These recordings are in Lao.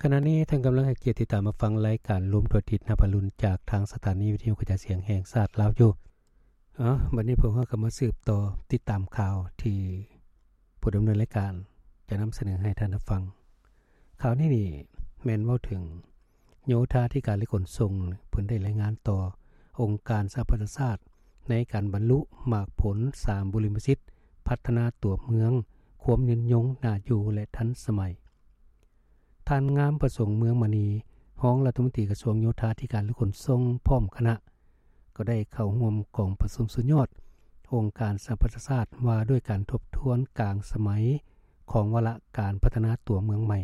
ຂະນະນີ້ທ່ານກຳລັງໃຫ້ກຽດຕິດຕາມຮັບຟັງລາຍການລົມທົ່ວທິດນະພາລຸນ ຈາກທາງສະຖານີວິທະຍຸກະຈາຍສຽງແຫ່ງຊາດລາວຢູ່. ເອົາ ບັດນີ້ພວກເຮົາກໍມາສືບຕໍ່ຕິດຕາມຂ່າວທີ່ຜູ້ດຳເນີນລາຍການຈະນຳສະເໜີໃຫ້ທ່ານຮັບຟັງ. ຂ່າວນີ້ນີ້ແມ່ນເວົ້າເຖິງໂຍທາທິການ ແລະ ຂົນສົ່ງ ເພິ່ນໄດ້ລາຍງານຕໍ່ອົງການສະຫະປະຊາຊາດ ໃນການບັນລຸໝາກຜົນສາມບຸລິມະສິດ ພັດທະນາຕົວເມືອງ ຄວາມຍືນຍົງ ໜ້າຢູ່ ແລະ ທັນສະໄໝ. ທ່ານ ງາມປະສົງ ເມືອງມະນີ ຮອງລັດຖະມົນຕີກະຊວງໂຍທາທິການ ແລະ ຂົນສົ່ງ ພ້ອມຄະນະ ກໍໄດ້ເຂົ້າຮ່ວມກອງປະຊຸມສຸດຍອດອົງການສະຫະປະຊາຊາດ ວ່າດ້ວຍການທົບທວນກາງສະໄໝຂອງວາລະການພັດທະນາຕົວເມືອງໃໝ່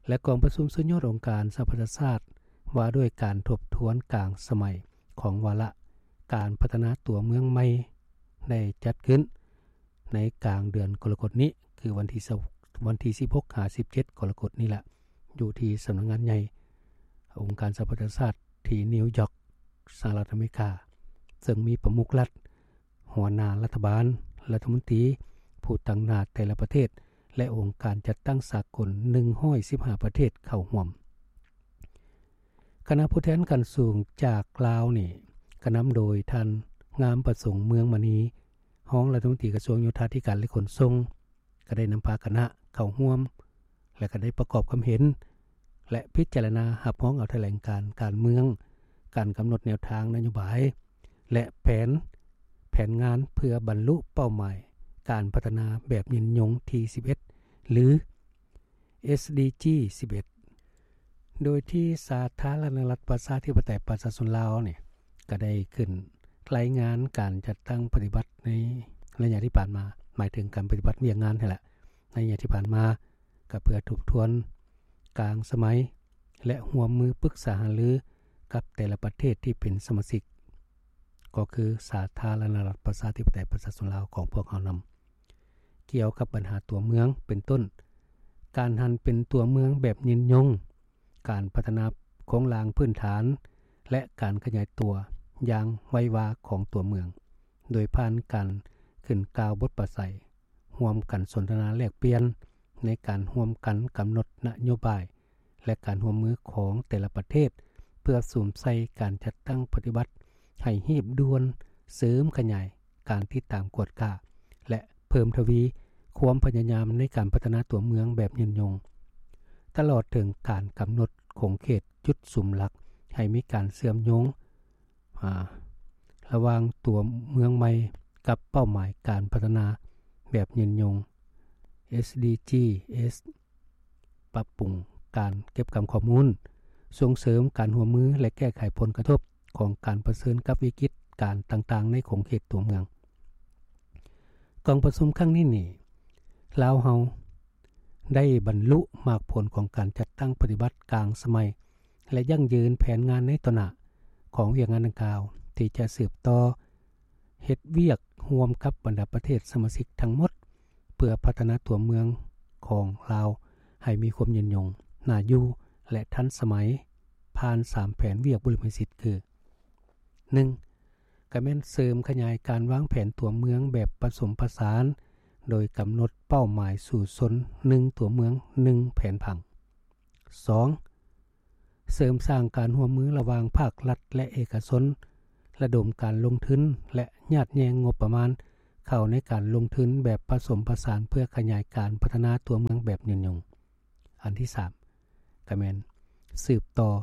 ແລະ ກອງປະຊຸມສຸດຍອດອົງການສະຫະປະຊາຊາດ ວ່າດ້ວຍການທົບທວນກາງສະໄໝຂອງວາລະການພັດທະນາຕົວເມືອງໃໝ່ ໄດ້ຈັດຂຶ້ນໃນກາງເດືອນກໍລະກົດນີ້ ຄືວັນທີ ວັນທີສິບຫົກຫາສິບເຈັດກໍລະກົດນີ້ລະ ຢູ່ທີ່ສຳນັກງານໃຫຍ່ອົງການສະຫະປະຊາຊາດທີ່ນິວຢອກ ສະຫະລັດອາເມລິກາ ເຊິ່ງມີປະມຸກລັດ, ຫົວໜ້າລັດຖະບານ, ລັດຖະມົນຕີ, ຜູ້ຕາງໜ້າແຕ່ລະປະເທດ ແລະ ອົງການຈັດຕັ້ງສາກົນ ໜຶ່ງຮ້ອຍສິບຫ້າປະເທດເຂົ້າຮ່ວມ. ຄະນະຜູ້ແທນຂັ້ນສູງຈາກລາວນີ້ ກະນຳໂດຍທ່ານ ງາມປະສົງ ເມືອງມະນີ ຮອງລັດຖະມົນຕີກະຊວງໂຍທາທິການ ແລະ ຂົນສົ່ງ ກໍໄດ້ນຳພາຄະນະເຂົ້າຮ່ວມ ແລະ ກໍໄດ້ປະກອບຄຳເຫັນ ແລະ ພິຈາລະນາຮັບຮອງເອົາຖະແຫຼງການການເມືອງ, ການກຳນົດແນວທາງນະໂຍບາຍ ແລະ ແຜນ, ແຜນງານເພື່ອບັນລຸເປົ້າໝາຍການພັດທະນາແບບຍືນຍົງທີສິບເອັດ ຫຼື ເອສດີຈີ ສິບເອັດ ໂດຍທີ່ສາທາລະນະລັດປະຊາທິປະໄຕປະຊາຊົນລາວນີ້ ກໍໄດ້ຂຶ້ນລາຍງານການຈັດຕັ້ງປະຕິບັດໃນໄລຍະທີ່ຜ່ານມາ, ໝາຍເຖິງການປະຕິບັດວຽກງານຫັ້ນແຫຼະ ໃນໄລຍະທີ່ຜ່ານມາ ກໍເພື່ອທົບທວນກາງສະໄໝ ແລະ ຮ່ວມມືປຶກສາຫາລືກັບແຕ່ລະປະເທດທີ່ເປັນສະມາຊິກ ກໍຄືສາທາລະນະລັດປະຊາທິປະໄຕປະຊາຊົນລາວຂອງພວກເຮົານຳ. ກ່ຽວກັບບັນຫາຕົວເມືອງ ເປັນຕົ້ນ ການຫັນເປັນຕົວເມືອງແບບຍືນຍົງ, ການພັດທະນາໂຄງລ່າງພື້ນຖານ ແລະ ການຂະຫຍາຍຕົວຢ່າງໄວວາຂອງຕົວເມືອງ ໂດຍຜ່ານການຂຶ້ນກ່າວບົດປາໄສ, ຮ່ວມກັນສົນທະນາແລກປ່ຽນໃນການຮ່ວມກັນກຳນົດນະໂຍບາຍ ແລະ ການຮ່ວມມືຂອງແຕ່ລະປະເທດ ເພື່ອສຸມໃສ່ການຈັດຕັ້ງປະຕິບັດໃຫ້ຮີບດ່ວນ, ເສີມຂະຫຍາຍການຕິດຕາມກວດກາ ແລະ ເພີ່ມທະວີຄວາມພະຍາຍາມໃນການພັດທະນາຕົວເມືອງແບບຍືນຍົງ, ຕະຫຼອດເຖິງການກຳນົດຂົງເຂດຈຸດສຸມຫຼັກໃຫ້ມີການເຊື່ອມໂຍງ ອາ ລະຫວ່າງຕົວເມືອງໃໝ່ກັບເປົ້າໝາຍການພັດທະນາແບບຍືນຍົງ ເອສດີຈີ ປັບປຸງການເກັບກຳຂໍ້ມູນ, ສົ່ງເສີມການຮ່ວມມື ແລະ ແກ້ໄຂຜົນກະທົບຂອງການປະເຊີນກັບວິກິດການຕ່າງໆໃນຂົງເຂດຕົວເມືອງ. ກອງປະຊຸມຄັ້ງນີ້ນີ້ ລາວເຮົາໄດ້ບັນລຸໝາກຜົນຂອງການຈັດຕັ້ງປະຕິບັດກາງສະໄໝ ແລະ ຢັ້ງຢືນແຜນງານໃນຕໍ່ໜ້າຂອງວຽກງານດັ່ງກ່າວ ທີ່ຈະສືບຕໍ່ເຮັດວຽກຮ່ວມກັບບັນດາປະເທດສະມາຊິກທັງໝົດ ເພື່ອພັດທະນາຕົວເມືອງຂອງລາວໃຫ້ມີຄວາມຍືນຍົງ, ໜ້າຢູ່ ແລະ ທັນສະໄໝ ຜ່ານສາມແຜນວຽກບຸລິມະສິດຄື ໜຶ່ງ ກໍແມ່ນເສີມຂະຫຍາຍການວາງແຜນຕົວເມືອງແບບປະສົມປະສານ ໂດຍກຳນົດເປົ້າໝາຍສູ້ຊົນ ໜຶ່ງຕົວເມືອງ ໜຶ່ງແຜນຜັງ. ສອງ ເສີມສ້າງການຮ່ວມມືລະຫວ່າງພາກລັດ ແລະ ເອກະຊົນ, ລະດົມການລົງທຶນ ແລະ ຍາດແຍ່ງງົບປະມານເຂົ້າໃນການລົງທຶນແບບປະສົມປະສານ ເພື່ອຂະຫຍາຍການພັດທະນາຕົວເມືອງແບບຍືນຍົງ. ອັນທີສາມ ກໍແມ່ນສືບຕໍ່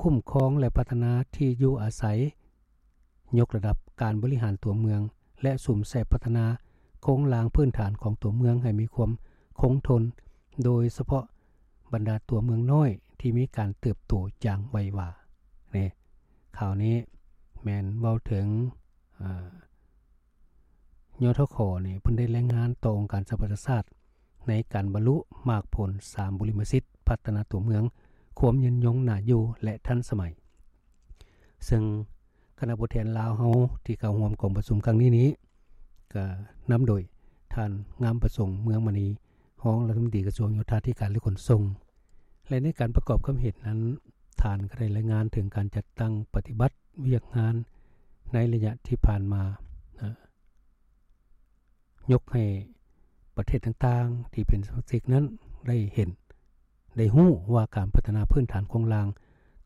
ຄຸ້ມຄອງ ແລະ ພັດທະນາທີ່ຢູ່ອາໄສ, ຍົກລະດັບການບໍລິຫານຕົວເມືອງ ແລະ ສຸມໃສ່ພັດທະນາໂຄງລ່າງພື້ນຖານຂອງຕົວເມືອງໃຫ້ມີຄວາມຄົງທົນ, ໂດຍສະເພາະບັນດາຕົວເມືອງນ້ອຍທີ່ມີການເຕີບໂຕຢ່າງໄວວາ. ນີ້ ຂ່າວນີ້ແມ່ນເວົ້າເຖິງ ອາ ຍທຂ ນີ້ ເພິ່ນໄດ້ລາຍງານຕໍ່ອົງການສະຫະປະຊາຊາດ ໃນການບັນລຸໝາກຜົນສາມບຸລິມະສິດ ພັດທະນາຕົວເມືອງ ຄວາມຍືນຍົງ, ໜ້າຢູ່ ແລະ ທັນສະໄໝ. ເຊິ່ງຄະນະຜູ້ແທນລາວເຮົາທີ່ເຂົ້າຮ່ວມກອງປະຊຸມຄັ້ງນີ້ນີ້ ກໍນຳໂດຍທ່ານ ງາມປະສົງ ເມືອງມະນີ ຮອງລັດຖະມົນຕີກະຊວງໂຍທາທິການ ແລະ ຂົນສົ່ງ ແລະ ໃນການປະກອບຄຳເຫັນນັ້ນ ທ່ານກໍໄດ້ລາຍງານເຖິງການຈັດຕັ້ງປະຕິບັດວຽກງານໃນໄລຍະທີ່ຜ່ານມາ ນະ ຍົກໃຫ້ປະເທດຕ່າງໆທີ່ເປັນສະມາຊິກນັ້ນໄດ້ເຫັນ ໄດ້ຮູ້ວ່າການພັດທະນາພື້ນຖານໂຄງລ່າງ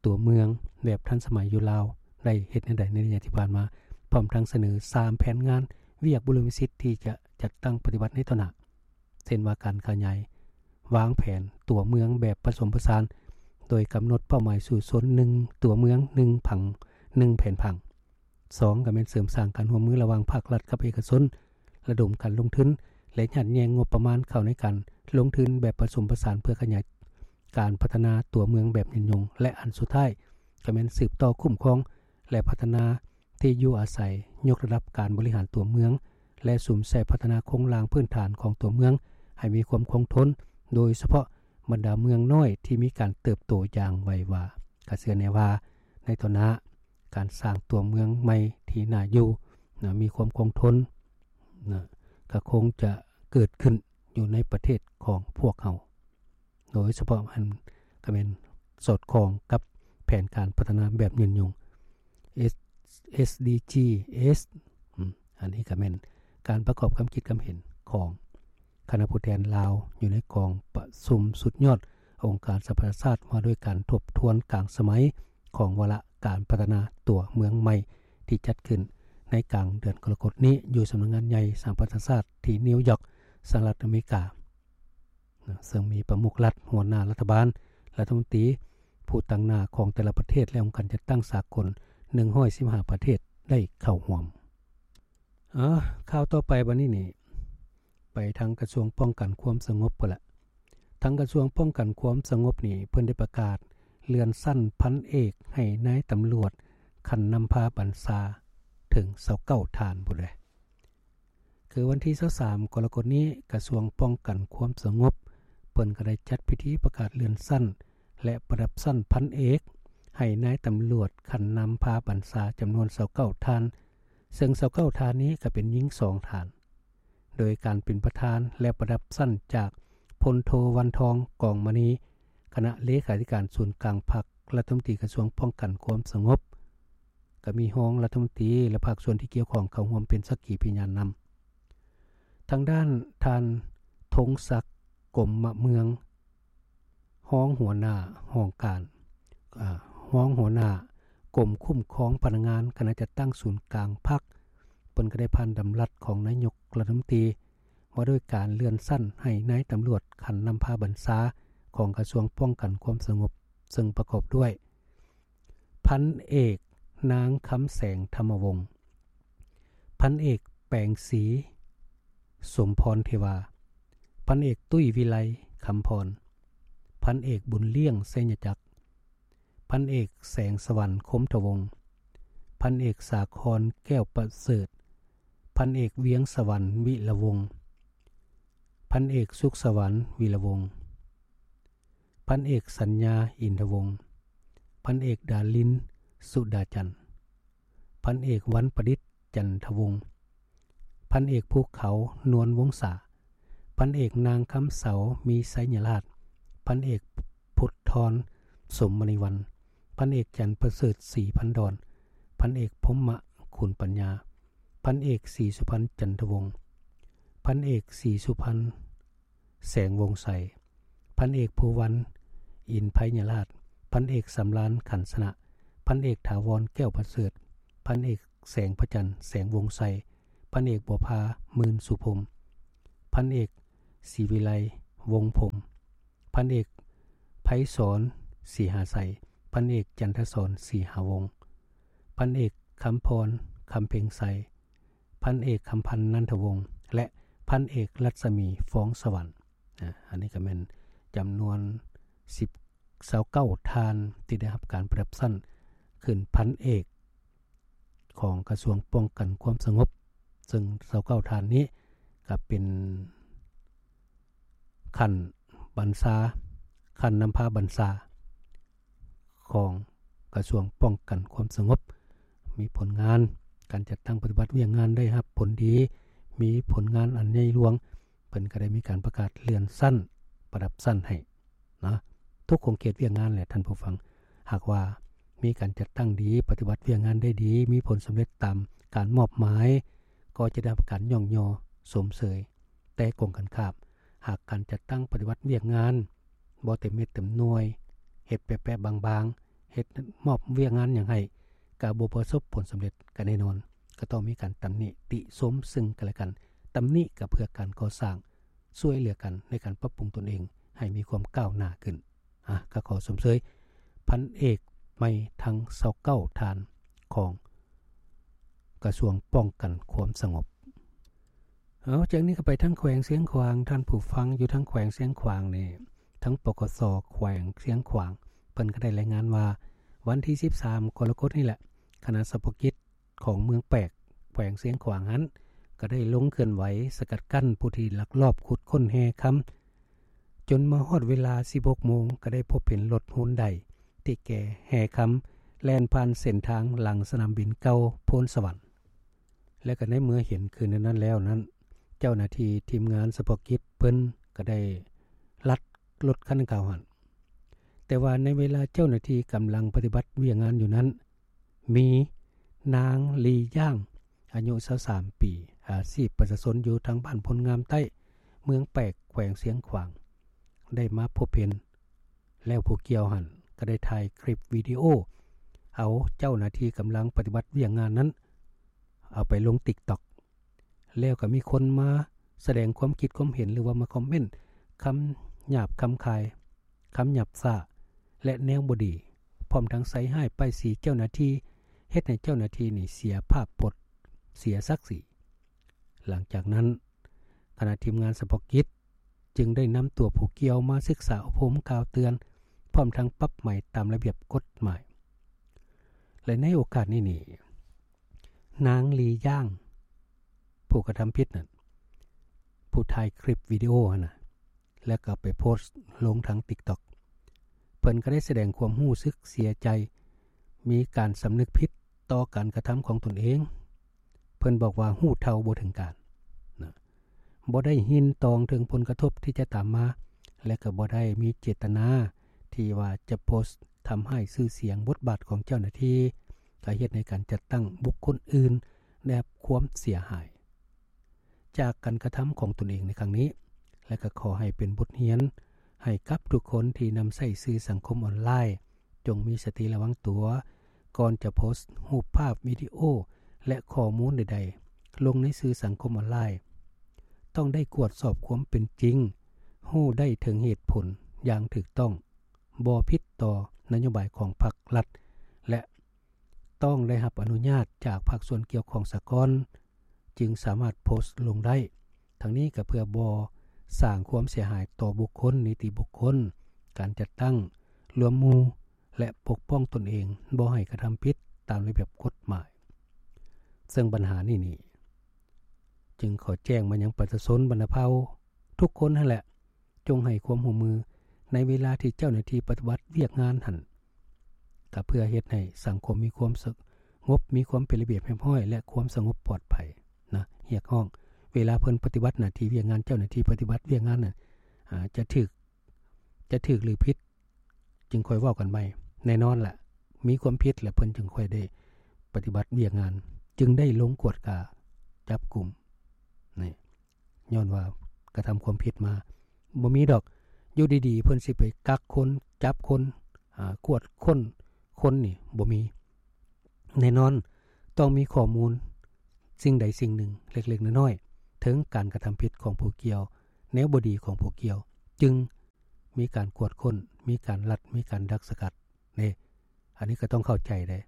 ຕົວເມືອງແບບທັນສະໄໝຢູ່ລາວໄດ້ເຮັດແນວໃດໃນໄລຍະທີ່ຜ່ານມາ, ພ້ອມທັງສະເໜີສາມແຜນງານວຽກບຸລິມະສິດທີ່ຈະຈັດຕັ້ງປະຕິບັດໃນຕໍ່ໜ້າ, ເຊັ່ນວ່າການຂະຫຍາຍວາງແຜນຕົວເມືອງແບບປະສົມປະສານ ໂດຍກຳນົດເປົ້າໝາຍສູ້ຊົນ ໜຶ່ງ ຕົວເມືອງ ໜຶ່ງ ຜັງ ໜຶ່ງ ແຜນຜັງ. ສອງ ກໍແມ່ນເສີມສ້າງການຮ່ວມມືລະຫວ່າງພາກລັດກັບເອກະຊົນ, ລະດົມການລົງທຶນ ແລະ ຍາດແຍ່ງງົບປະມານເຂົ້າໃນການລົງທຶນແບບປະສົມປະສານ ເພື່ອຂະຫຍາຍການພັດທະນາຕົວເມືອງແບບຍືນຍົງ ແລະ ອັນສຸດທ້າຍ ກໍແມ່ນສືບຕໍ່ຄຸ້ມຄອງ ແລະ ພັດທະນາທີ່ຢູ່ອາໄສ, ຍົກລະດັບການບໍລິຫານຕົວເມືອງ ແລະ ສຸມໃສ່ພັດທະນາໂຄງລ່າງພື້ນຖານຂອງຕົວເມືອງໃຫ້ມີຄວາມຄົງທົນ, ໂດຍສະເພາະບັນດາເມືອງນ້ອຍທີ່ມີການເຕີບໂຕຢ່າງໄວວາ. ກະເຊື່ອແນ່ວ່າໃນຕໍ່ໜ້າ ການສ້າງຕົວເມືອງໃໝ່ທີ່ໜ້າຢູ່ນະ ມີຄວາມຄົງທົນນະ ກະຄົງຈະເກີດຂຶ້ນຢູ່ໃນປະເທດຂອງພວກເຮົາ ໂດຍສະເພາະຫັ້ນກະແມ່ນສອດຄ່ອງກັບແຜນການພັດທະນາແບບຍືນຍົງ ເອສ ເອສ ດີ ຈີ ເອສ ອາ ອັນນີ້ກະແມ່ນການປະກອບຄຳຄິດຄຳເຫັນຂອງຄະນະຜູ້ແທນລາວ ຢູ່ໃນກອງປະຊຸມສຸດຍອດອົງການສະຫະປະຊາຊາດ ວ່າດ້ວຍການທົບທວນກາງສະໄໝຂອງວາລະການພັດທະນາຕົວເມືອງໃໝ່ ທີ່ຈັດຂຶ້ນໃນກາງເດືອນກໍລະກົດນີ້ ຢູ່ສຳນັກງານໃຫຍ່ສະຫະປະຊາຊາດທີ່ນິວຢອກ ສະຫະລັດອາເມລິກາ ນະ ເຊິ່ງມີປະມຸກລັດ, ຫົວໜ້າລັດຖະບານ, ລັດຖະມົນຕີ, ຜູ້ຕາງໜ້າຂອງແຕ່ລະປະເທດ ແລະ ອົງການຈັດຕັ້ງສາກົນ ໜຶ່ງຮ້ອຍສິບຫ້າ ປະເທດໄດ້ເຂົ້າຮ່ວມ. ເອົາ ຂ່າວຕໍ່ໄປບັດນີ້ນີ້ ໄປທາງກະຊວງປ້ອງກັນຄວາມສະຫງົບພຸ້ນລະ. ທາງກະຊວງປ້ອງກັນຄວາມສະຫງົບນີ້ ເພິ່ນໄດ້ປະກາດເລື່ອນຊັ້ນພັນເອກໃຫ້ນາຍຕຳຫຼວດຂັ້ນນຳພາບັນຊາເຖິງຊາວເກົ້າທ່ານພຸ້ນເດ້. ຄືວັນທີຊາວສາມ ກໍລະກົດນີ້ ກະຊວງປ້ອງກັນຄວາມສະຫງົບ ເພິ່ນກໍໄດ້ຈັດພິທີປະກາດເລື່ອນຊັ້ນ ແລະ ປະດັບຊັ້ນພັນເອກ ໃຫ້ນາຍຕຳຫຼວດຂັ້ນນຳພາບັນຊາຈຳນວນຊາວເກົ້າທ່ານ, ເຊິ່ງຊາວເກົ້າທ່ານນີ້ກໍເປັນຍິງສອງທ່ານ, ໂດຍການເປັນປະທານ ແລະ ປະດັບຊັ້ນຈາກ ພົນໂທ ວັນທອງ ກອງມະນີ ຄະນະເລຂາທິການສູນກາງພັກ, ລັດຖະມົນຕີກະຊວງປ້ອງກັນຄວາມສະຫງົບ, ກໍມີຮອງລັດຖະມົນຕີ ແລະ ພາກສ່ວນທີ່ກ່ຽວຂ້ອງເຂົ້າຮ່ວມເປັນສັກຂີພະຍານນຳ. ທາງດ້ານທ່ານ ທົງສັກ ກົມມະເມືອງ ຮອງຫົວໜ້າຫ້ອງການ ອາ ຮອງຫົວໜ້າກົມຄຸ້ມຄອງພະນັກງານ ຄະນະຈັດຕັ້ງສູນກາງພັກ ເພິ່ນກໍໄດ້ຜ່ານດຳລັດຂອງນາຍົກລັດຖະມົນຕີ ວ່າດ້ວຍການເລື່ອນຊັ້ນໃຫ້ນາຍຕຳຫຼວດຂັ້ນນຳພາບັນຊາຂອງກະຊວງປ້ອງກັນຄວາມສະຫງົບ, ເຊິ່ງປະກອບດ້ວຍ ພັນເອກ ນາງ ຄຳແສງ ທຳມະວົງ, ພັນເອກ ແປງສີ ສົມພອນເທວາ, ພັນເອກ ຕຸ້ຍ ວິໄລ ຄຳພອນ, ພັນເອກ ບຸນລ້ຽງ ໄຊຍະຈັກ, ພັນເອກ ແສງສະຫວັນ ຄົມທະວົງ, ພັນເອກ ສາຄອນ ແກ້ວປະເສີດ, ພັນເອກ ວຽງສະຫວັນ ວິລະວົງ, ພັນເອກ ສຸກສະຫວັນ ວິລະວົງ, ພັນເອກ ສັນຍາ ອິນທະວົງ, ພັນເອກ ດາລິນ ສຸດາຈັນ, ພັນເອກ ວັນປະດິດ ຈັນທະວົງ, ພັນເອກ ພູເຂົາ ນວນວົງສາ, ພັນເອກ ນາງ ຄຳເສົາ ມີໄຊຍະລາດ, ພັນເອກ ພຸດທອນ ສົມມະນີວັນ, ພັນເອກ ຈັນປະເສີດ ສີພັນດອນ, ພັນເອກ ພົມມະ ຂຸນປັນຍາ, ພັນເອກ ສີສຸພັນ ຈັນທະວົງ, ພັນເອກ ສີສຸພັນ ແສງວົງໄຊ, ພັນເອກ ພູວັນ ອິນໄພຍະລາດ, ພັນເອກ ສຳລານ ຂັນຊະນະ, ພັນເອກ ຖາວອນ ແກ້ວປະເສີດ, ພັນເອກ ແສງພະຈັນ ແສງວົງໄຊ, ພັນເອກ ບົວພາ ໝື່ນສຸພົມ, ພັນເອກ ສີວິໄລ ວົງພົມ, ພັນເອກ ໄພສອນ ສີຫາໄຊ, ພັນເອກ ຈັນທະສອນ ສີຫາວົງ, ພັນເອກ ຄຳພອນ ຄຳເພັງໄຊ, ພັນເອກ ຄຳພັນ ນັນທະວົງ ແລະ ພັນເອກ ລັດສະໝີ ຟອງສະຫວັນ. ອາ ອັນນີ້ກໍແມ່ນຈຳນວນສິບ ຊາວເກົ້າທ່ານ ທີ່ໄດ້ຮັບການປະດັບຊັ້ນຂຶ້ນພັນເອກຂອງກະຊວງປ້ອງກັນຄວາມສະຫງົບ, ເຊິ່ງຊາວເກົ້າທ່ານນີ້ກໍເປັນຂັ້ນບັນຊາ, ຂັ້ນນຳພາບັນຊາ ຂອງກະຊວງປ້ອງກັນຄວາມສະຫງົບ, ມີຜົນງານການຈັດຕັ້ງປະຕິບັດວຽກງານໄດ້ຮັບຜົນດີ, ມີຜົນງານອັນໃຫຍ່ຫຼວງ, ເພິ່ນກໍໄດ້ມີການປະກາດເລື່ອນຊັ້ນ, ປະດັບຊັ້ນໃຫ້ເນາະ ທຸກຂົງເຂດວຽກງານແຫຼະທ່ານຜູ້ຟັງ. ຫາກວ່າມີການຈັດຕັ້ງດີ, ປະຕິບັດວຽກງານໄດ້ດີ, ມີຜົນສຳເລັດຕາມການມອບໝາຍ, ກໍຈະໄດ້ຮັບການຍ້ອງຍໍຊົມເຊີຍ. ແຕ່ກົງກັນຂ້າມ, ຫາກການຈັດຕັ້ງປະຕິບັດວຽກງານ ບໍ່ເຕັມເມັດເຕັມໜ່ວຍ ເຮັດແປະໆບາງໆ ເຮັດມອບວຽກງານຫຍັງໃຫ້ ກໍບໍ່ປະສົບຜົນສຳເລັດ ກໍແນ່ນອນ ກໍຕ້ອງມີການຕຳໜິຕິຊົມເຊິ່ງກັນແລະກັນ. ຕຳໜິກໍເພື່ອການກໍ່ສ້າງ ຊ່ວຍເຫຼືອກັນໃນການປັບປຸງຕົນເອງໃຫ້ມີຄວາມກ້າວໜ້າຂຶ້ນ. ອາ ກໍຂໍຊົມເຊີຍພັນເອກໄມທັງຊາວເກົ້າທ່ານຂອງກະຊວງປ້ອງກັນຄວາມສະຫງົບ. ເອົາ ຈາກນີ້ກໍໄປທາງແຂວງຊຽງຂວາງ. ທ່ານຜູ້ຟັງຢູ່ທາງແຂວງຊຽງຂວາງນີ້ ທາງ ປກສ ແຂວງຊຽງຂວາງ ເພິ່ນກໍໄດ້ລາຍງານວ່າ ວັນທີສິບສາມ ກໍລະກົດນີ້ແຫຼະ ຄະນະສະເພາະກິດ ຂອງເມືອງແປກ ແຂວງຊຽງຂວາງຫັ້ນ ກໍໄດ້ລົງເຄື່ອນໄຫວສະກັດກັ້ນຜູ້ທີ່ລັກລອບຂຸດຄົ້ນແຮ່ຄຳ ຈົນມາຮອດເວລາສິບຫົກໂມງ ກໍໄດ້ພົບເຫັນລົດຮຸນໄດທີ່ແກ່ແຮ່ຄຳ ແລ່ນຜ່ານເສັ້ນທາງຫຼັງສະໜາມບິນເກົ່າໂພນສະຫວັນ ແລະ ກໍໃນເມື່ອເຫັນຄືນນັ້ນແລ້ວນັ້ນ ເຈົ້າໜ້າທີ່ທີມງານສະເພາະກິດເພິ່ນກໍໄດ້ລັດລົດຄັນດັ່ງກ່າວຫັ້ນ. ແຕ່ວ່າໃນເວລາເຈົ້າໜ້າທີ່ກຳລັງປະຕິບັດວຽກງານຢູ່ນັ້ນ ມີນາງ ລີ ຢາງ ອາຍຸຊາວສາມປີ ອາຊີບປະຊາຊົນຢູ່ທາງບ້ານໂພນງາມໃຕ້ ເມືອງແປກ ແຂວງຊຽງຂວາງ ໄດ້ມາພົບເຫັນ ແລ້ວຜູ້ກ່ຽວຫັ້ນກໍໄດ້ຖ່າຍຄລິບວິດີໂອ ເອົາເຈົ້າໜ້າທີ່ກຳລັງປະຕິບັດວຽກງານນັ້ນ ເອົາໄປລົງ TikTok ແລ້ວກໍມີຄົນມາສະແດງຄວາມຄິດຄວາມເຫັນ ຫຼືວ່າມາຄອມເມັນຄຳຫຍາບຄຳຄາຍ ຄຳຫຍາບຊ້າ ແລະ ແນວບໍ່ດີ ພ້ອມທັງໃສ່ຮ້າຍປ້າຍສີເຈົ້າໜ້າທີ່ ເຮັດໃຫ້ເຈົ້າໜ້າທີ່ນີ້ເສຍພາບພົດ ເສຍສັກສີ. ຫຼັງຈາກນັ້ນ ຄະນະທີມງານສະເພາະກິດຈຶ່ງໄດ້ນຳຕົວຜູ້ກ່ຽວມາສຶກສາອົບຮົມກ່າວເຕືອນ ພ້ອມທັງປັບໃໝຕາມລະບຽບກົດໝາຍ. ແລະ ໃນໂອກາດນີ້ນີ້ ນາງ ລີ ຢາງ ຜູ້ກະທຳຜິດນັ້ນ ຜູ້ຖ່າຍຄລິບວິດີໂອຫັ້ນນະ ແລ້ວກໍໄປໂພສລົງທາງ TikTok ເພິ່ນກໍໄດ້ສະແດງຄວາມຮູ້ສຶກເສຍໃຈ ມີການສຳນຶກຜິດຕໍ່ການກະທຳຂອງຕົນເອງ. ເພິ່ນບອກວ່າຮູ້ເທົ່າບໍ່ເຖິງການນະ ບໍ່ໄດ້ຍິນຕອງເຖິງຜົນກະທົບທີ່ຈະຕາມມາ ແລະ ກໍບໍ່ໄດ້ມີເຈດຕະນາທີ່ວ່າຈະໂພສທຳຮ້າຍຊື່ສຽງບົດບາດຂອງເຈົ້າໜ້າທີ່ ກໍເຮັດໃຫ້ການຈັດຕັ້ງບຸກຄົນອື່ນໄດ້ຮັບຄວາມເສຍຫາຍຈາກການກະທຳຂອງຕົນເອງໃນຄັ້ງນີ້ ແລະ ກໍຂໍໃຫ້ເປັນບົດຮຽນໃຫ້ກັບທຸກຄົນທີ່ນຳໃຊ້ສື່ສັງຄົມອອນລາຍ ຈົ່ງມີສະຕິລະວັງຕົວ ກ່ອນຈະໂພສຮູບພາບ, ວິດີໂອ ແລະ ຂໍ້ມູນໃດໆລົງໃນສື່ສັງຄົມອອນລາຍ. ຕ້ອງໄດ້ກວດສອບຄວາມເປັນຈິງ, ຮູ້ໄດ້ເຖິງເຫດຜົນຢ່າງຖືກຕ້ອງ, ບໍ່ຜິດຕໍ່ນະໂຍບາຍຂອງພັກລັດ ແລະ ຕ້ອງໄດ້ຮັບອະນຸຍາດຈາກພາກສ່ວນກ່ຽວຂ້ອງສາກ່ອນ ຈຶ່ງສາມາດໂພສລົງໄດ້. ທັງນີ້ກໍເພື່ອບໍ່ສ້າງຄວາມເສຍຫາຍຕໍ່ບຸກຄົນ, ນິຕິບຸກຄົນ, ການຈັດຕັ້ງ, ລວມໝູ່ ແລະ ປົກປ້ອງຕົນເອງ ບໍ່ໃຫ້ກະທຳຜິດຕາມລະບຽບກົດໝາຍ. ເຊິ່ງບັນຫານີ້ນີ້ ຈຶ່ງຂໍແຈ້ງມາຍັງປະຊາຊົນບັນດາເຜົ່າທຸກຄົນຫັ້ນແຫຼະ ຈົ່ງໃຫ້ຄວາມຮ່ວມມືໃນເວລາທີ່ເຈົ້າໜ້າທີ່ປະຕິບັດວຽກງານຫັ້ນ ກໍເພື່ອເຮັດໃຫ້ສັງຄົມມີຄວາມສະຫງົບ, ມີຄວາມເປັນລະບຽບຮຽບຮ້ອຍ ແລະ ຄວາມສະຫງົບປອດໄພນະ. ຮຽກຮ້ອງເວລາເພິ່ນປະຕິບັດໜ້າທີ່ວຽກງານ, ເຈົ້າໜ້າທີ່ປະຕິບັດວຽກງານນັ້ນ ອາ ຈະຖືກ ຈະຖືກ ຫຼື ຜິດ ຈຶ່ງຄ່ອຍເວົ້າກັນໃໝ່. ແນ່ນອນລະ ມີຄວາມຜິດລະເພິ່ນຈຶ່ງຄ່ອຍໄດ້ປະຕິບັດວຽກງານ, ຈຶ່ງໄດ້ລົງກວດກາຈັບກຸມ. ນີ້ ຍ້ອນວ່າກະທຳຄວາມຜິດມາ ບໍ່ມີດອກ ຢູ່ດີໆເພິ່ນຊິໄປກັກຄົນ, ຈັບຄົນ, ອາ ກວດຄົ້ນຄົນນີ້ ບໍ່ມີ. ແນ່ນອນ ຕ້ອງມີຂໍ້ມູນສິ່ງໃດສິ່ງໜຶ່ງເລັກໆນ້ອຍໆ ເຖິງການກະທຳຜິດຂອງຜູ້ກ່ຽວ, ແນວບໍ່ດີຂອງຜູ້ກ່ຽວ ຈຶ່ງມີການກວດຄົ້ນ, ມີການລັດ, ມີການດັກສະກັດເດ້. ອັນນີ້ກໍຕ້ອງເຂົ້າໃຈເດ້.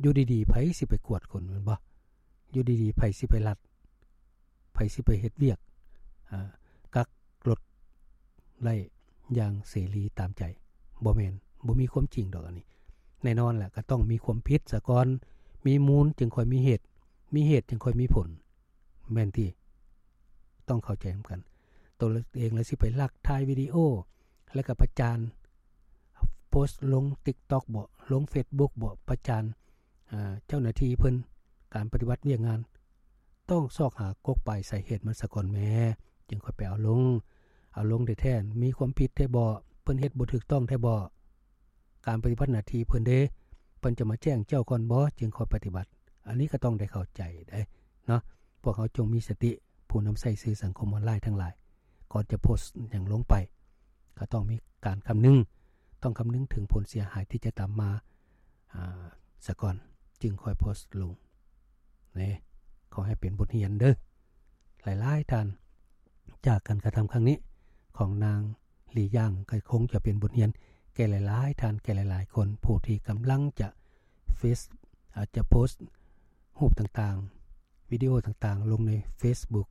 ຢູ່ດີໆ ໃຜຊິໄປກວດຄົນ ແມ່ນບໍ່? ຢູ່ດີໆ ໃຜຊິໄປລັດ? ໃຜຊິໄປເຮັດວຽກ ອາ ກັກລົດໄດ້ຢ່າງເສລີຕາມໃຈ? ບໍ່ແມ່ນ, ບໍ່ມີຄວາມຈິງດອກອັນນີ້. ແນ່ນອນແຫຼະ ກໍຕ້ອງມີຄວາມຜິດສາກ່ອນ, ມີມູນຈຶ່ງຄ່ອຍມີເຫດ, ມີເຫດຈຶ່ງຄ່ອຍມີຜົນ. ແມ່ນຕິ? ຕ້ອງເຂົ້າໃຈນຳກັນ. ໂຕເອງລະຊິໄປລັກຖ່າຍວິດີໂອ ແລ້ວກໍປະຈານ, ໂພສລົງ TikTok ບໍ ລົງ Facebook ບໍ ປະຈານ ອາ ເຈົ້າໜ້າທີ່ເພິ່ນ ການປະຕິບັດວຽກງານ ຕ້ອງຊອກຫາກົກປາຍສາເຫດມັນສາກ່ອນແມ້ ຈຶ່ງຄ່ອຍໄປເອົາລົງ. ເອົາລົງແທ້ໆ ມີຄວາມຜິດແທ້ບໍ? ເພິ່ນເຮັດບໍ່ຖືກຕ້ອງແທ້ບໍ? ການປະຕິບັດໜ້າທີ່ເພິ່ນເດ້ ເພິ່ນຈະມາແຈ້ງເຈົ້າກ່ອນບໍ? ຈຶ່ງຄ່ອຍປະຕິບັດ. ອັນນີ້ກໍຕ້ອງໄດ້ເຂົ້າໃຈເດ້ເນາະ. ພວກເຮົາຈົ່ງມີສະຕິ ຜູ້ນຳໃຊ້ສື່ສັງຄົມອອນລາຍທັງຫຼາຍ ກ່ອນຈະໂພສຫຍັງລົງໄປ ກໍ ຕ້ອງມີການຄຳນຶງ ຕ້ອງຄຳນຶງເຖິງຜົນເສຍຫາຍທີ່ຈະຕາມມາ ອາ ສາກ່ອນ ຈຶ່ງຄ່ອຍໂພສລົງເນາະ. ຂໍໃຫ້ເປັນບົດຮຽນເດີ້ ຫຼາຍໆທ່ານ ຈາກການກະທຳຄັ້ງນີ້ຂອງນາງ ຫຼີ ຢາງ ກໍຄົງຈະເປັນບົດຮຽນແກ່ຫຼາຍໆທ່ານ ແກ່ຫຼາຍໆຄົນ ຜູ້ທີ່ກຳລັງຈະເຟສ ອາດຈະໂພສຮູບຕ່າງໆ ວິດີໂອຕ່າງໆ ລົງໃນເຟສບຸກ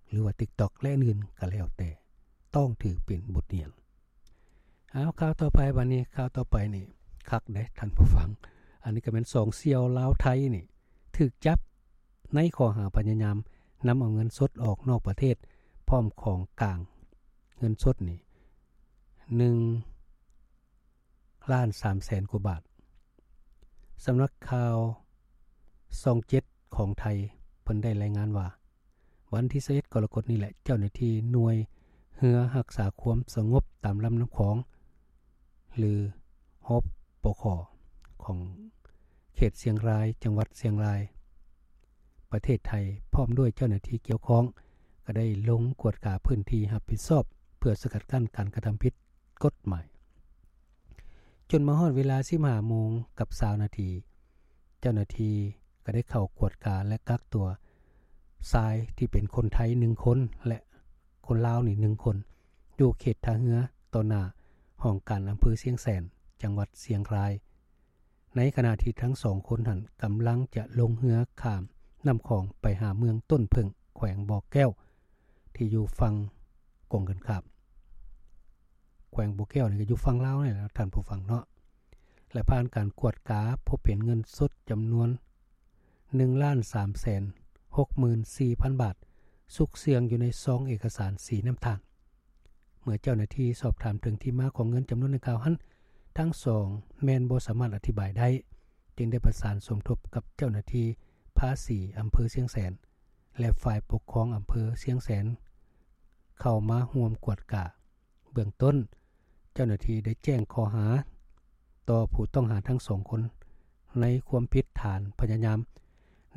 ຫຼືວ່າຕິກຕັອກ ແລະ ອື່ນໆກໍແລ້ວແຕ່ ຕ້ອງຖືເປັນບົດຮຽນ. ເອົາ ຂ່າວຕໍ່ໄປ ບັດນີ້ຂ່າວຕໍ່ໄປນີ້ຄັກເດ້ທ່ານຜູ້ຟັງ. ອັນນີ້ກໍແມ່ນສອງສ່ຽວລາວໄທນີ້ຖືກຈັບໃນຂໍ້ຫາພະຍາຍາມນຳເອົາເງິນສົດອອກນອກປະເທດ ພ້ອມຂອງກາງເງິນສົດນີ້ ໜຶ່ງລ້ານສາມແສນກວ່າບາດ. ສຳນັກຂ່າວຊ່ອງເຈັດຂອງໄທ ເພິ່ນໄດ້ລາຍງານວ່າ ວັນທີຊາວເອັດ ກໍລະກົດນີ້ແຫຼະ ເຈົ້າໜ້າທີ່ໜ່ວຍເຮືອຮັກສາຄວາມສະຫງົບຕາມລຳນ້ຳຂອງ ຫຼື ຮປຂ ຂອງເຂດຊຽງລາຍ ຈັງຫວັດຊຽງລາຍ ປະເທດໄທ ພ້ອມດ້ວຍເຈົ້າໜ້າທີ່ກ່ຽວຂ້ອງ ກໍໄດ້ລົງກວດກາພື້ນທີ່ຮັບຜິດຊອບ ເພື່ອສະກັດກັ້ນການກະທຳຜິດ ກົດໝາຍ. ຈົນມາຮອດເວລາ ສິບຫ້າໂມງກັບຊາວນາທີ ເຈົ້າໜ້າທີ່ກໍໄດ້ເຂົ້າກວດກາ ແລະ ກັກຕົວຊາຍທີ່ເປັນຄົນໄທໜຶ່ງຄົນ ແລະ ຄົນລາວນີ້ໜຶ່ງຄົນ ຢູ່ເຂດທ່າເຮືອ ຕໍ່ໜ້າຫ້ອງການອຳເພີຊຽງແສນ ຈັງຫວັດຊຽງລາຍ. ໃນຂະນະທີ່ທັງສອງຄົນຫັ້ນກຳລັງຈະລົງເຮືອຂ້າມນ້ຳຂອງໄປຫາເມືອງຕົ້ນເຜິ້ງ ແຂວງບໍ່ແກ້ວ ທີ່ຢູ່ຝັ່ງກົງກັນຂ້າມ. ແຂວງບໍ່ແກ້ວນີ້ກໍຢູ່ຝັ່ງລາວນີ້ແຫຼະທ່ານຜູ້ຟັງເນາະ ແລະ ຜ່ານການກວດກາພົບເຫັນເງິນສົດຈຳນວນ ໜຶ່ງລ້ານສາມແສນຫົກໝື່ນສີ່ພັນບາດ ຊຸກເຊື່ອງຢູ່ໃນຊອງເອກະສານສີນ້ຳຕານ. ເມື່ອເຈົ້າໜ້າທີ່ສອບຖາມເຖິງທີ່ມາຂອງເງິນຈຳນວນດັ່ງກ່າວຫັ້ນ ທັງສອງແມ່ນບໍ່ສາມາດອະທິບາຍໄດ້ ຈຶ່ງໄດ້ປະສານສົມທົບກັບເຈົ້າໜ້າທີ່ພາສີອຳເພີຊຽງແສນ ແລະ ຝ່າຍປົກຄອງອຳເພີຊຽງແສນ ເຂົ້າມາຮ່ວມກວດກາ. ເບື້ອງຕົ້ນ ເຈົ້າໜ້າທີ່ໄດ້ແຈ້ງຂໍ້ຫາຕໍ່ຜູ້ຕ້ອງຫາທັງສອງຄົນ ໃນຄວາມຜິດຖານພະຍາຍາມ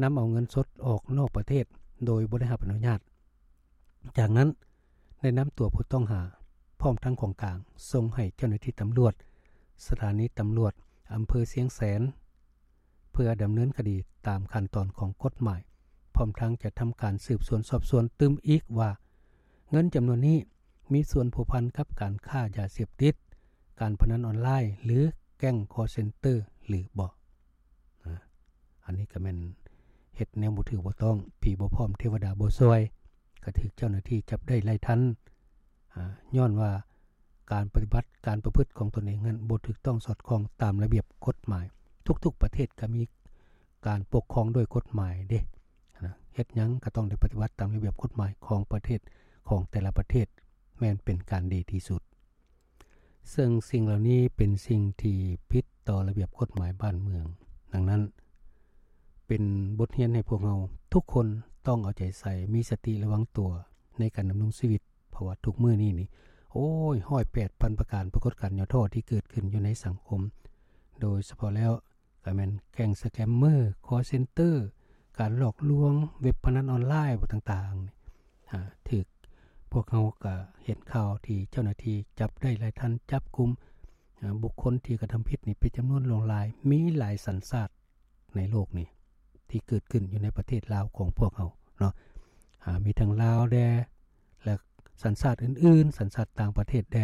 ນຳເອົາເງິນສົດອອກນອກປະເທດໂດຍບໍ່ໄດ້ຮັບອະນຸຍາດ. ຈາກນັ້ນ ໄດ້ນຳຕົວຜູ້ຕ້ອງຫາ ພ້ອມທັງຂອງກາງ ສົ່ງໃຫ້ເຈົ້າໜ້າທີ່ຕຳຫຼວດ ສະຖານີຕຳຫຼວດອຳເພີຊຽງແສນ ເພື່ອດຳເນີນຄະດີຕາມຂັ້ນຕອນຂອງກົດໝາຍ, ພ້ອມທັງຈະທຳການສືບສວນສອບສວນຕື່ມອີກວ່າ ເງິນຈຳນວນນີ້ມີສ່ວນພົວພັນກັບການຄ້າຢາເສບຕິດ, ການພະນັນອອນລາຍ ຫຼື ແກ້ງຄໍເຊັນເຕີ ຫຼືບໍ່. ອາ ອັນນີ້ກໍແມ່ນເຮັດແນວບໍ່ຖືກບໍ່ຕ້ອງ, ຜີບໍ່ພ້ອມເທວະດາບໍ່ຊ່ວຍ, ກໍຖືກເຈົ້າໜ້າທີ່ຈັບໄດ້ໄລ່ທັນ. ອາ ຍ້ອນວ່າການປະຕິບັດ, ການປະພຶດຂອງຕົນເອງນັ້ນບໍ່ຖືກຕ້ອງສອດຄ່ອງຕາມລະບຽບກົດໝາຍ. ທຸກໆປະເທດກໍມີການປົກຄອງດ້ວຍກົດໝາຍເດ້. ນະ ເຮັດຫຍັງກໍຕ້ອງໄດ້ປະຕິບັດຕາມລະບຽບກົດໝາຍຂອງປະເທດ, ຂອງແຕ່ລະປະເທດ ແມ່ນເປັນການດີທີ່ສຸດ. ເຊິ່ງສິ່ງເຫຼົ່ານີ້ເປັນສິ່ງທີ່ຜິດຕໍ່ລະບຽບກົດໝາຍບ້ານເມືອງ. ດັ່ງນັ້ນ ເປັນບົດຮຽນໃຫ້ພວກເຮົາທຸກຄົນຕ້ອງເອົາໃຈໃສ່, ມີສະຕິລະວັງຕົວໃນການດຳລົງຊີວິດ, ເພາະວ່າທຸກມື້ນີ້ນີ້ ໂອ້ຍ ຮ້ອຍແປດພັນປະການປາກົດການຫຍໍ້ທໍ້ທີ່ເກີດຂຶ້ນຢູ່ໃນສັງຄົມ, ໂດຍສະເພາະແລ້ວ ກໍແມ່ນແກ້ງສະແກມເມີ, ຄໍເຊັນເຕີ, ການຫຼອກລວງ, ເວັບພະນັນອອນລາຍຕ່າງໆ ອາ ຖືກ ພວກເຮົາກໍເຫັນຂ່າວທີ່ເຈົ້າໜ້າທີ່ຈັບໄດ້ຫຼາຍທ່ານ, ຈັບກຸມ ອາ ບຸກຄົນທີ່ກະທຳຜິດນີ້ເປັນຈຳນວນຫຼວງຫຼາຍ, ມີຫຼາຍສັນຊາດໃນໂລກນີ້ທີ່ເກີດຂຶ້ນຢູ່ໃນປະເທດລາວຂອງພວກເຮົາເນາະ. ອາ ມີທັງລາວແດ່ ແລະ ສັນຊາດອື່ນໆ, ສັນຊາດຕ່າງປະເທດແດ່